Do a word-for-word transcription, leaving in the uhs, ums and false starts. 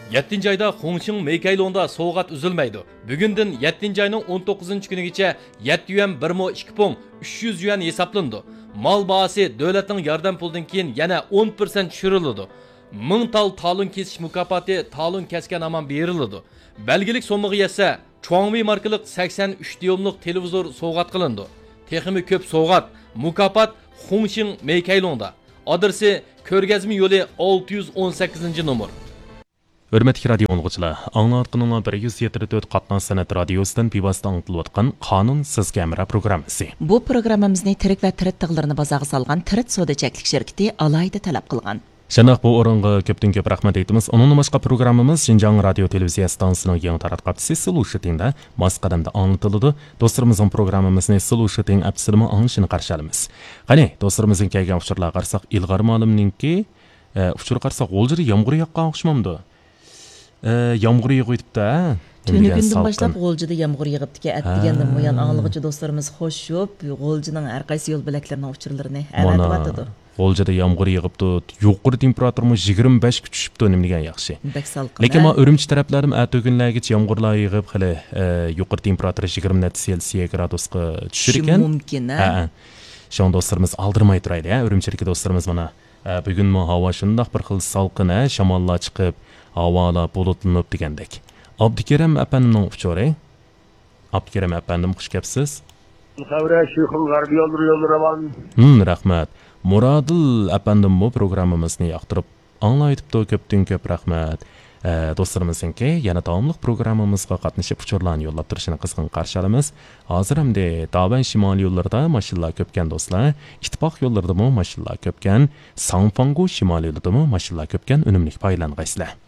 يەتتىنچى ئايدا خۇڭشىڭ مېيكەيلۇڭدا سوۋغات ئۈزۈلمەيدۇ. بۈگۈندىن يەتتىنچى ئاينىڭ ئون توققۇزىنچى كۈنىگىچە يەتتە يۈەن بىر مو ئىككى پۇڭ ئۈچ يۈەن ھېسابلىنىدۇ. مال باھاسى دۆلەتنىڭ ياردەم پۇلىدىن كېيىن يەنە ئون پىرسەنت چۈشۈرۈلىدۇ. مىڭ تال تالون كېسىش مۇكاپاتى تالون كەسكەن ھامان بېرىلىدۇ. بەلگىلىك سوممىغا يەتسە، چۇاڭۋېي ماركىلىق سەكسەن ئۈچ دىيوملۇق تېلېۋىزور سوۋغات قىلىنىدۇ. تېخىمۇ كۆپ سوۋغات، مۇكاپات خۇڭشىڭ مېيكەيلۇڭدا. ئادرېسى: كۆرگەزمە يولى، ئالتە يۈز ئون سەككىزىنچى نومۇر. ھۆرمەتلىك رادىيو ئاڭلىغۇچىلار، ئاڭلاۋاتقىنىڭلار بىر يۈز يەتتە تۆت قاتناش سەنئەت رادىيوسىدىن بىۋاسىتە ئاڭلىتىلىۋاتقان قانۇن سىزگە ھەمراھ پروگراممىسى. بۇ پروگراممىمىزنى تىرىك ۋە تىرىت تىغلىرىنى بازارغا سالغان تىرىت سودا چەكلىك شىركىتى ئالاھىدە تەلەپ قىلغان. شۇنداق، بۇ ئورۇنغا كۆپتىن كۆپ رەھمەت ئېيتىمىز. ئۇنىڭدىن باشقا، پروگراممىمىز شىنجاڭ رادىيو تېلېۋىزىيە ئىستانسىسىنىڭ يېڭى تاراتقۇ ھەپتىسى سىلۇشىتىڭدا ماس قەدەمدە ئاڭلىتىلىدۇ. دوستلىرىمىزنىڭ پروگراممىمىزنى سىلۇشىتىڭ ئەپسىدىمۇ ئاڭلىشىنى قارشى ئالىمىز. قېنى، دوستلىرىمىزدىن كەلگەن ئۇچۇرلارغا قارىساق، ئىلغار مالىمنىڭكى، ئە، ئۇچۇرغا قارىساق، غۇلجىدا يامغۇر ياغقان ئوخشىمامدۇ؟ ئە، يامغۇر يېغىۋېتىپتۇ، ھە؟ تۈنۈگۈندىن باشلاپ غۇلجىدا يامغۇر يېغىپتىكەن. ئەتىگەندىن بۇيان ئاڭلىغۇچى دوستلىرىمىز خوش شوپ، غۇلجىنىڭ ھەر قايسى يول بۆلەكلىرىنىڭ ئۇچۇرلىرىنى ئەۋەتىۋاتىدۇ. غۇلجىدا يامغۇر يېغىپتۇ، يۇقىرى تېمپېراتۇرىمۇ يىگىرمە بەشكە چۈشۈپتۇ، نېمە دېگەن ياخشى. بەك سالقىن، لېكىن ھە؟ ما ئۈرۈمچى تەرەپلەردىمۇ ئەتىگۈنلەرگىچە يامغۇرلار يېغىپ، خېلى، ئە، يۇقىرى تېمپېراتۇرا يىگىرمە نەچچە سېلسىيە گرادۇسقا چۈشىدىكەن. چۈشۈشى مۇمكىن، ھە؟ ھە، ھە. شۇڭا دوستلىرىمىز ئالدىرىماي تۇرايلى، ھە، ئۈرۈمچىدىكى دوستلىرىمىز مانا. ئە، بۈگۈنمۇ ھاۋا شۇنداق بىر خىل سالقىن، ھە، شاماللار چىقىپ، ھاۋالار بۇلۇتلىنىپ دېگەندەك. ئابدۇكېرىم ئەپەندىمنىڭ ئۇچۇرى. ئابدۇكېرىم ئەپەندىم، خۇش كەپسىز. خەۋرە شېيخۇم غەربىي يوللىرى يوللىرى ئامان. ھىم، رەھمەت. مۇرادىل ئەپەندىممۇ پروگراممىمىزنى ياقتۇرۇپ ئاڭلاۋېتىپتۇ، كۆپتىن كۆپ رەھمەت. ئە، دوستلىرىمىزنىڭكى يەنە داۋاملىق پروگراممىمىزغا قاتنىشىپ ئۇچۇرلارنى يوللاپ تۇرۇشىنى قىزغىن قارشى ئالىمىز. ھازىر ئەمدى داۋەن شىمالىي يوللىرىدا ماشىنىلار كۆپكەن دوستلار، ئىتتىپاق يوللىرىدىمۇ ماشىنىلار كۆپكەن، ساڭفاڭگو شىمالىي يولىدىمۇ ماشىنىلار كۆپكەن، ئۈنۈملۈك پايدىلانغايسىلەر.